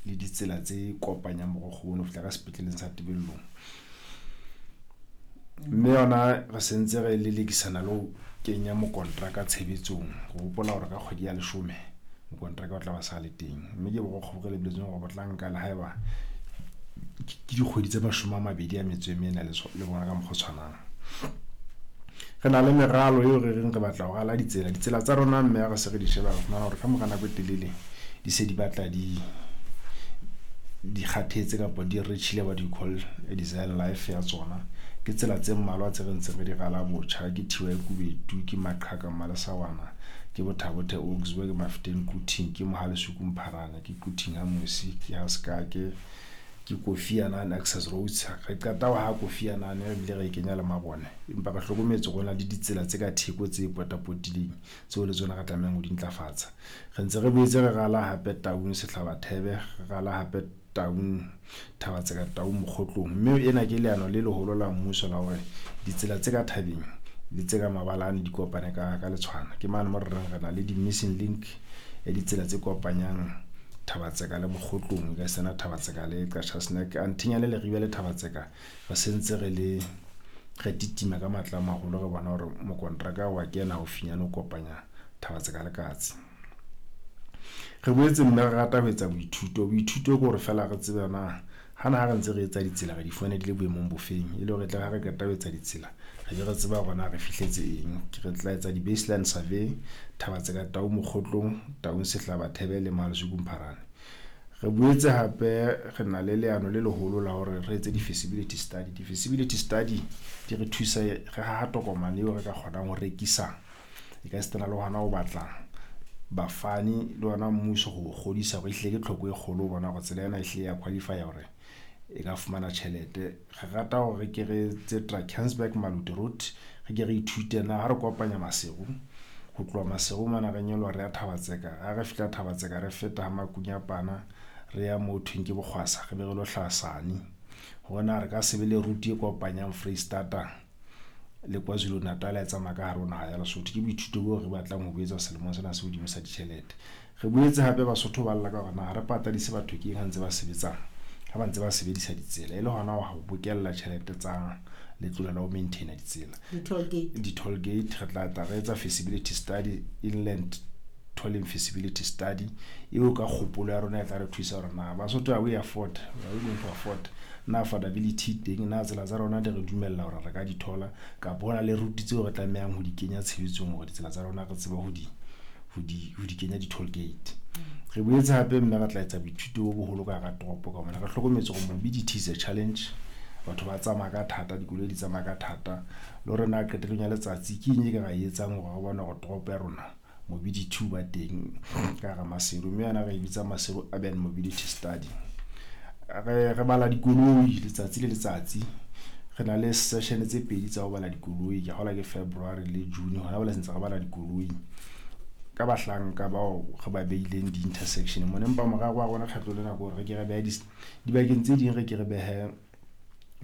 le ditsela tse kopanyang borokgo bono ho fihla ka sepetleleng sa Tebellong. Mme yona re sentse re lelekisana le ho kenya mokontraka tshebetsong. Re hopola hore ka kgwedi ya leshome mokontraka o tla ba sa le teng, mme ke borokgo bo re lebelletseng hore bo tla nka le haeba ke dikgwedi tse 24 le bona ka mokgwa o tshwanang. Re na le meralo eo re reng re batla ho rala ditsela. Ditsela tsa rona mme ha re se re di sheba, re fumana hore ka mora nako e telele di se di batla di kgathetse kapa di reach-ile what you call a design life ya tsona. Ke tsela tse mmalwa tse re ntseng re di rala botjha. Ke Thiwa Kubetu, ke Maqhaka Mmalesawana, ke Bothabothe Oaksburg, ke Mafeteng Quthing, ke Mohalesuku Mpharane, ke Quthing ha Mosi, ke ha Sekake, ke Kofi Annan access roads. Re qeta ho ha Kofi Annan, re bile re e kenya le mabone, empa re hlokometse hore ho na le ditsela tse ka theko tse potapotileng tseo le tsona re tlamehang ho di ntlafatsa. Re ntse re boetse re rala hape Taung Sehlabathebe, re rala hape Taung Thabatseka, Taung Mokgotlong. Mme ena ke leano le leholo la mmuso la hore ditsela tse ka thabeng le tse ka mabalane di kopane ka letshwana. Ke mane mo re reng re na le di-missing link ya ditsela tse kopanyang Thabatseka le Mokgotlong, e ka sena Thabatseka le Qacha's Nek. Anthinya le Leribe le Thabatseka re sentse re le re titima ka matla a maholo, re bona hore mokontraka wa kena haufinyane ho kopanya Thabatseka le Katse. Re boetse mme re rata ho etsa boithuto. Boithuto ke hore feela re tsebe na hana ha re ntse re etsa ditsela re di fumane di le boemong bofeng, e le hore tle ha re qeta ho etsa ditsela re be re tseba hore na re fihletse eng. Re tla etsa di-baseline survey Thabatseka Taung Mokgotlong, Taung Sehlabathebe le Mohalesuku Mpharane. Re boetse hape re na le leano le leholo la hore re etse di-feasibility study. Di-feasibility study di re thusa re haha tokomane eo re ka kgonang ho rekisa, e ka sitana le hona ho batla bafani le ona mmuso ho kgodisa hore ehlile ke tlhoko e kgolo ho bona hore tsela ena ehlile ya qualify hore e ka fumana tjhelete. Re rata hore ke re tse Drakensberg Maluti route, re ke re ithute na ha re kopanya Maseru, ho tloha Maseru mona re nyoloha re ya Thabatseka, ha re fihla Thabatseka re feta ha Makunyapana, re ya moo thweng ke Bokgwasa, re be re lo hlaha Sani, hore na re ka se be le route e kopanyang Freistata le KwaZulu Natal e tsamaya ka hare ho naha ya Lesotho. Ke boithuto boo re batlang ho bo etsa selemong sena se hodimo sa ditjhelete. Re boetse hape Basotho ba lla ka hore na ha re patadise batho ke eng ha ntse ba sebetsa, ha ba ntse ba sebedisa ditsela, e le hona ho bokella tjhelete tsa letlole la ho maintaina ditsela, di-toll gate. Di-toll gate re tla tla re etsa feasibility study, inland tolling feasibility study eo ka kgopolo ya rona e tla re thusa hore na Basotho are we afford, are we going to afford, na affordability teng, na tsela tsa rona di re dumella hore re ka di thola, kapa hona le route tseo re tlamehang ho di kenya tshebetsong hore ditsela tsa rona re tsebe ho di kenya di-toll gate. Re boetse hape mme re tla etsa boithuto bo boholo ka hara toropo ka mona. Re hlokometse hore mobility is a challenge, batho ba tsamaya ka thata, dikoloi di tsamaya ka thata, le hore na qetellong ya letsatsi ke eng e ka ra e etsang hore re bone hore toropo ya rona mobility o ba teng ka hara Maseru, mme yona re e bitsa Maseru Urban Mobility Study. Re bala dikoloi letsatsi le letsatsi, re na le session tse pedi tsa ho bala dikoloi, ke kgolwa ke February le June. Hona jwale sentse re bala dikoloi ka bahlanka bao re ba beileng di-intersection mona, empa morero wa rona kgetlo lena ke hore re ke re behe dibakeng tse ding, re ke re behe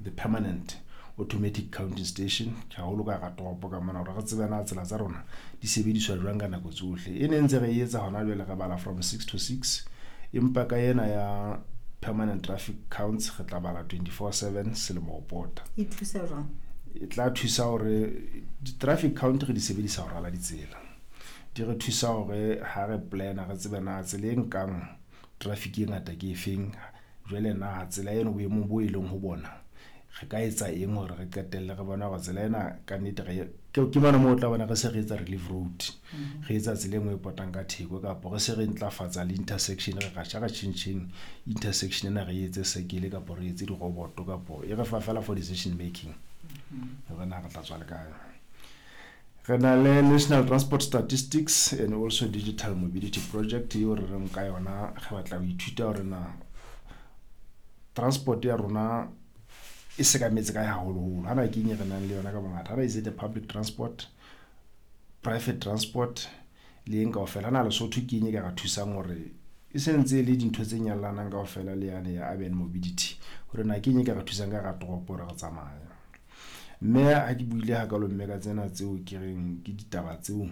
the permanent automatic counting station haholo ka hara toropo ka mona, hore re tsebe na tsela tsa rona di sebediswa jwang ka nako tsohle. E ne ntse re e etsa hona jwale, re bala from 6 to 6, empa ka ena ya permanent traffic counts re tla bala 24/7 selemo ho pota. E thusa jwang? E tla thusa hore di-traffic count re di sebedisa ho rala ditsela, di re thusa hore ha re plan-a re tsebe na tsela e nkang traffic e ngata ke efeng, jwale na tsela eno boemong bo e leng ho bona re ka etsa eng hore re qetelle re bona hore tsela ena ka nnete re ke mona moo o tla bona re se re etsa relief road, re etsa tsela e nngwe e potang ka theko, kapa re se re ntlafatsa le intersection, re ratjha re tjhentjheng intersection ena, re etse circle kapa re etse diroboto, kapa e re fa fela for decision making hore na re tla tswa le kae. Re na le National Transport Statistics and also Digital Mobility Project eo re reng ka yona re batla ho ithuta hore na transport ya rona e sekametse kae haholoholo, hana ke eng e re nang le yona ka bongata, hana is it the public transport, private transport le eng kaofela, hana Lesotho ke eng e ka re thusang hore e sentse e le dintho tse nyallanang kaofela le yane ya urban mobility, hore na ke eng e ka re thusang ka hara toropo hore re tsamaye. Mme ha ke buile hakalo mme ka tsena tseo ke reng ke ditaba tseo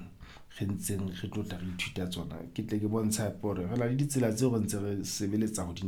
re ntseng re tlo tla re ithuta tsona, ke tle ke bontshe hape hore re na le ditsela tseo re ntse re sebeletsa ho di.